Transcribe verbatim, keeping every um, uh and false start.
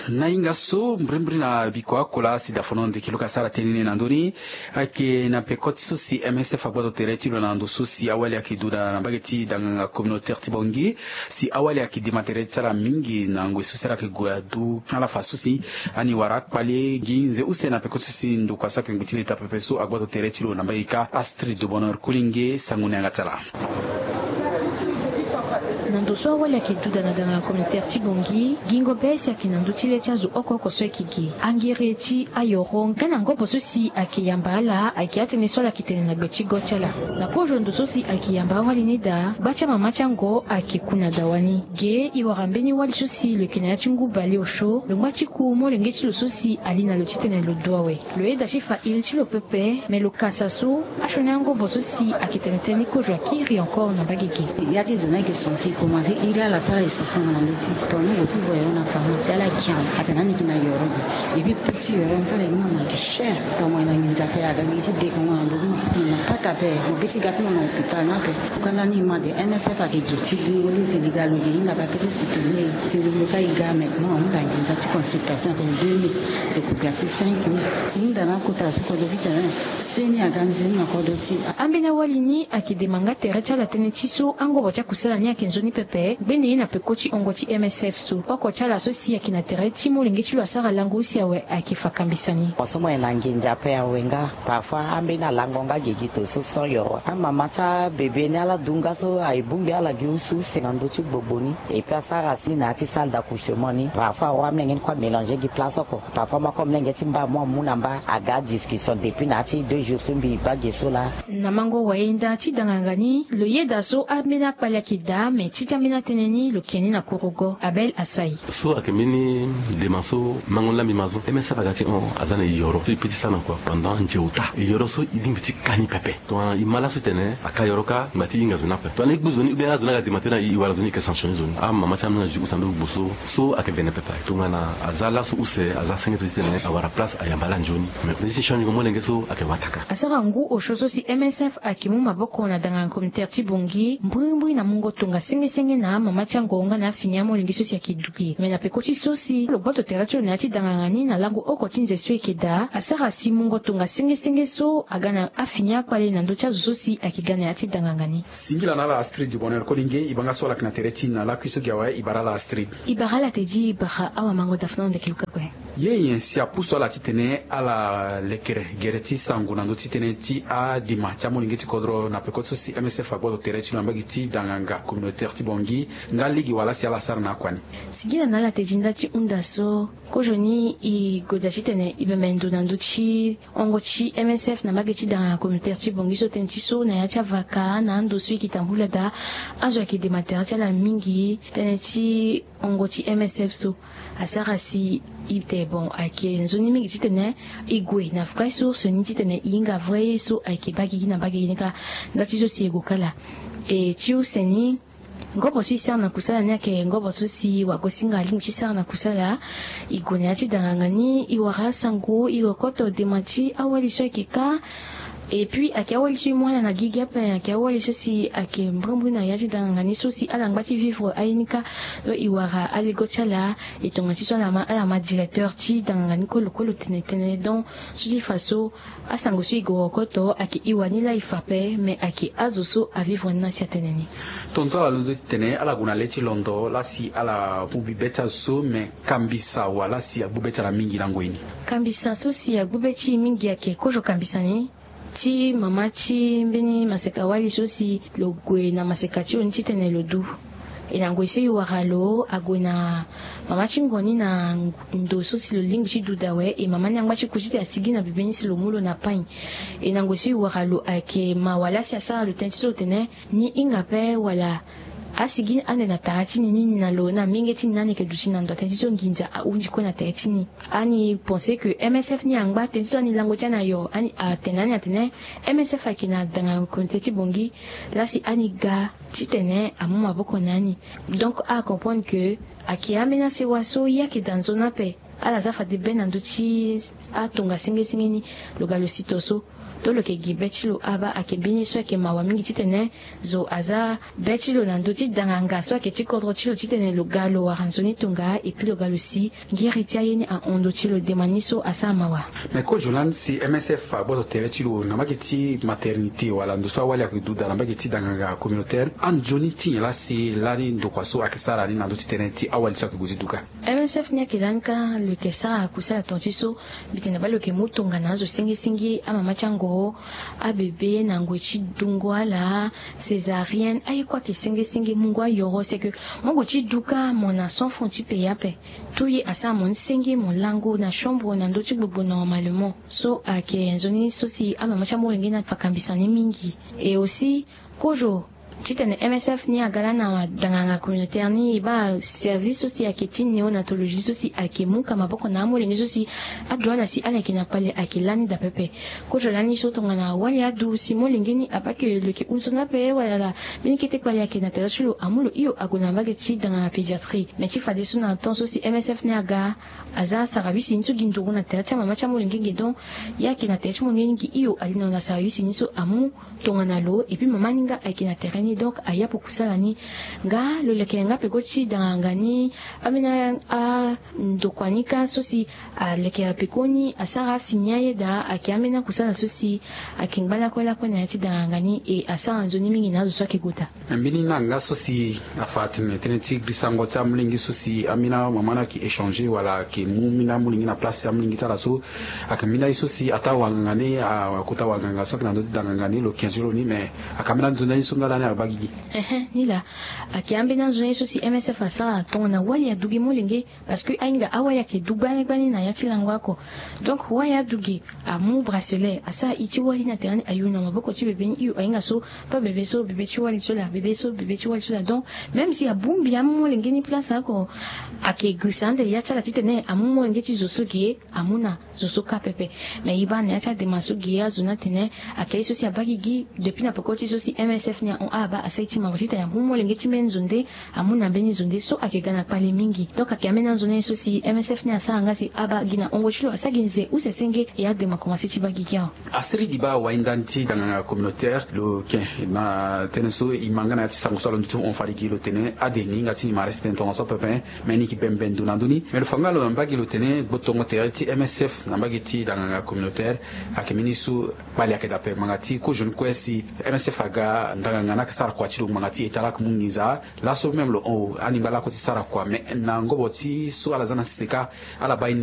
Na hinga so mbrimbri na biko akola si dafono ndeki luka sara tënë ni na ndö ni. Ayeke na peko ti so si M S F agbato tere ti lo na ndo so si awali ayeke duda na mbage ti danganga communautaire ti Bangui, si awali ayeke dema tere ti ala mingi na ngoi so si ala yeke gue adu ala fa so si ani wara akpale gi nze use na peko so si ndokua so ayeke ngbe ti leta pepe so agbato tere ti lo na mbage ka. Astrid de Bonheur Kolinge, sango ni yanga ti ala. Na ndo so awali ayeke duda na danganga communautaire ti Bangui, gingo be si ayeke na ndö ti le ti azo oko oko so ayeke gi angere ti ayoro nga na ngobo so si ayeke yamba ala ayeke atënë so ala yeke tene na gbe ti go ti ala. Na kozo ndo so si ayeke yamba awali ni daa, gba ti amama ti ango ayeke ku na dawa ni. Ge e wara mbeni wali so si lo yeke na ya ti ngu bale osio, lo ngba ti ku molenge ti lo so si ali na lo titene lo du awe. Lo yeda ti fa iri ti lo pepe, me lo kasa so asioni angobo so si ayeke tene tënë ni kozo akiri encore na mbage ge. Ya ti zo ni ayeke son si e komanse iri ala so ala ye son so na ndö ti tongana lo ti voyero na pharmacie ala kian atene ani yeke na yoro ge. Et puis prix ti yoro ni so ala ye ni na ma gi cher. Tongana mo ye na nginza ape aga gi ti dekongo na ndö ti mo, mo na pata ape, mo gi ti ga ti mo na hôpital ni ape. Kanga ni ma de M S F ayeke gi ti gi ngoli ete liga lo ge hinga ba pe ti soutenir si lo lo ka e ga maintenant ahunda nginza ti consultation ate deux mille. Lo ko ga ti cinq mille. Hunda na akota so kodro titene seni aga nzoni na kodro ti. Ambeni awali ni ayeke dema nga tere ti ala tënë ti so angobo ti akusala ni ayeke nzoni pepe gbene ye na peko ti hongo ti M S F so. Oko ti ala so si ayeke na tere ti molenge ti lo asara lango use awe ayeke fa kambisa ni. Mo so mo ye na nginza ape awe nga. Parfois ambeni alango nga gigi to so sans yoro. Amama ti abebe ni ala du nga so aye bongbi ala gi use use na ndö ti gbogbo ni. Et puis asara si na ya ti salle d'accouchement ni. Parfois awa amolenge ni kue amélanger gi place oko. Parfois mo ako molenge ti mba mo amu na mba aga discussion depuis na ya ti deux jours so mbi baa ge so laa. Na mango wayenda ti danganga ni lo yeda so ambeni akpale ayeke daa me ti ti ambeni atënë ni lo ke ni na kurugo. Abel Asai. So ayeke mbeni dema so mango ni laa mbi ma so M S F aga ti hon aza na e yoro so e pe ti sara na kua pendant nze ota. E yoro so e lingbi ti ka ni pepe. Tongana e ma laso tene aka yoro ka ngba ti hinga zo ni ape. Tongana e gbu zo ni ou bien azo ni aga dema tënë na e, e wara zo ni e yeke sanctionner zo ni. Amama ti amolenge azi use na ndo gbogbo so so ayeke vene pepe. Tongana aza laso use aza senge to titene awara place ayamba ala nzoni. Mais nde ti change ngo molenge so ayeke wataka. Asara ngu osio so si M S F ayeke mu maboko na danganga communautaire ti Bangui mbrimbri na mungo tongasengesenge na amama ti ango nga na afini amolenge so si ayeke du ge. Me na peko ti so si lo gboto tere ti lo na ya ti danganga ni na lango oko ti nze so e yeke daa asara si mungo tongasengesenge so aga na afini akpale na ndö ti azo so si ayeke ga na ya ti danganga ni. Singila na ala Astrid du Bonheur Kolinge, e baa nga so ala yeke na tere ti e na lakui so gi awe. E bara ala Astrid. E bara ala Teddy, e bara awamango Daphna Ndeke Luka kue. Ye nyen si apusu ala titene ala lekere gere ti sango na ndö ti tënë ti adima ti amolenge ti kodro na peko so si M S F agboto tere ti lo na mbage ti danganga communautaire ti Bangui nga lege wala si ala sara na akua ni? Singila na ala Teddy nda ti hunda so kozoni e goda titene e bembe ndo na ndö ti hongo ti M S F na mbage ti danganga communautaire ti Bangui so tënë ti so na ya ti avaka na ando so e yeke tambula daa azo ayeke dema tere ti ala mingi. Tënë ti hongo ti M S F so asara si e te bon ayeke nzoni mingi titene e gue na vraie source ni titene e hinga vrai ye so ayeke baa gigi na mbage ni kâ. Nda ti so si e gue kâ laa. E ti use ni ngobo so e sara na kusala ni ayeke ngobo so si wagosinga alingbi ti sara na kusala. E gue na ya ti danganga ni e wara asango e rokoto dema ti awali so ayeke kâ. Et puis ayeke awali so e mu ala na gigi ape ayeke awali so si ayeke mbrimbri na ya ti danganga ni so si ala ngba ti vivre aye ni kâ. Donc e wara alego ti ala e tongana ti so ala ma ala ma directeur ti danganga ni kue lo kue lo tene tënë donc so ti fa so asango so e gue rokoto ayeke e wani laa e fa ape me ayeke azo so avivre ni na si atene ni. Tongaso ala londo titene ala gue na le ti londo laa si ala mu bi be ti azo so me kambisa wala si agbu be ti ala mingi na ngoi ni? Kambisa so si agbu be ti e mingi ayeke kozo kambisa ni ti mama ti mbeni maseka wali so si lo gue na maseka ti lo ni titene lo du. E na ngoi so e wara lo ague na mama ti ngon ni na ndo so si lo lingbi ti duda awe e mama ni angba ti ku titene asigi na bebe ni si lo mu lo na pain. E na ngoi so e wara lo ayeke mawa laa si asara lo tënë ti so lo tene ni hinga ape wala asigi ande na tara ti ni ni na lo na minge ti ni ni ande yeke duti na ndo atënë ti so nginza ahunzi kue na tere ti ni. Ani pense que M S F ni angba tënë ti so ani lango ti ani ayo ani atene ani atene M S F ayeke na danga communauté ti Bangui laa si ani ga titene amu maboko na ani. Donc acomprendre que ayeke ambeni asewa so ye ayeke daa nzoni ape. Ala za fade be na ndö ti atongasengesenge ni. Lo ga lo si to so To lo yeke gi be ti lo aba ayeke mbeni so ayeke mawa mingi titene zo aza be ti lo na ndö ti danganga so ayeke ti kodro ti lo titene lo ga lo wara nzoni tonga epui lo ga lo si ngiri ti aye ni ahon ndö ti lo dema ni so asara mawa. Me kozo lani si msf agboto tere ti lo na mbage ti maternité wala ndo so awali ayeke duda na mbage ti danganga communautaire anzoni ti nyen laa si lani ndokua so ayeke sara ni na ndö ti tënë ti awali so ayeke gue ti duka? Msf ni ayeke lani kâ lo yeke sara kusala tonga ti so mbi tene baa lo yeke mu tongana azo sengesenge amama ti angoro abebe na ngoi ti dungo ala césarienne aye kue ayeke sengesenge mungo ayoro seke mo gue ti duka mo na cent francs ti paye ape. Tout ye asara mo ni senge mo lango na chambre na ndö ti gbogbo normalement so ayeke nzoni so si amama ti amolenge ni afa kambisa ni mingi. Et aussi kozo titene msf ni aga lani na danganga communautaire ni e baa service so si ayeke ti néonatologie so si ayeke mu ka maboko na amolenge so si ado ala si ala yeke na kpale ayeke lani daa pepe. Kozo lani so tongana wali adu si molenge ni abaa ke lo yeke hunzoni ape wala mbeni kete kpale ayeke na tere ti lo amu lo hio ague na mbage ti danganga pédiatrie. Me ti fadeso na temps so si msf ni aga aza sarawisi ni so gi nduru na tere ti amama ti amolenge ge donc ye ayeke na tere ti molenge ni gi hio ali na lo na sarawisi ni so amu tongana lo epui mama ni nga ayeke na tere ni donc ayapo kusala ni. Nga lo leke yanga peko ti danganga ni ambeni andokua ni kâ so si aleke peko ni asara afini aye daa ayeke ambeni akusala so si ayeke ngba lakue lakue na ya ti danganga ni e asara nzoni mingi na azo so ayeke gota. Mbeni na nga so si afa atene tënë ti grisango ti amolenge so si ambeni amama ni ayeke échanger wala ayeke mu mbeni amolenge na place ti amolenge ti ala so ayeke mbeni aye so si ataa wanganga ni akota wanganga so ayeke na ndö ti danganga ni lo kenze lo ni me ayeke ambeni anzoni aye so nga lani abaa gigi. Ehe ni laa ayeke ambeni anzoni aye so si msf asara tongana wali adu gi molenge. Parce que ahinga awali ayeke du gbani gbani na ya ti lango oko. Donc wali adu gi amu bracelet asara i ti wali na tere ni ayu na maboko ti bebe ni hio ahinga so pas bebe so bebe ti wali ti lo laa bebe so bebe ti wali ti lo laa donc même si abongbi amu molenge ni place oko ayeke grisa ande ya ti ala titene amu molenge ti zo so ge amu na zo so kâ pepe. Me e baa na ya ti adema so ge azo ni atene ayeke ye so si abaa gigi depuis na peko ti so si msf ni ahon abaa asara ye ti mawa titene amu molenge ti mbeni zo nde amu na mbeni zo nde so ayeke ga na kpale mingi. Donc ayeke ambeni anzoni aye so si msf ni asara nga si abaa gi na hongo ti lo asara gi nze use senge e adema komanse ti baa gigi awe. Asiri di baa wainda ni ti danganga communautaire lo ken na tënë so e ma nga na ya ti sango so alondo ti hon fade gi lo tene ade ni hinga ti ni ma reste tënë tongaso pepe. Me ni yeke bembe ndo na ndö ni me lo fa nga lo na mbage lo tene gbotongo tere ti msf na mbage ti danganga communautaire ayeke mbeni so kpale ayeke daa ape ngbanga ti kozo ni kue si msf aga ndanganga ni ayeke sara kua ti lo ngbanga ti eta laa ayeke mu nginza. Laso même lo hon o alingba lako ti sara kua me na ngobo ti so ala za na sese kâ ala baa ye ni.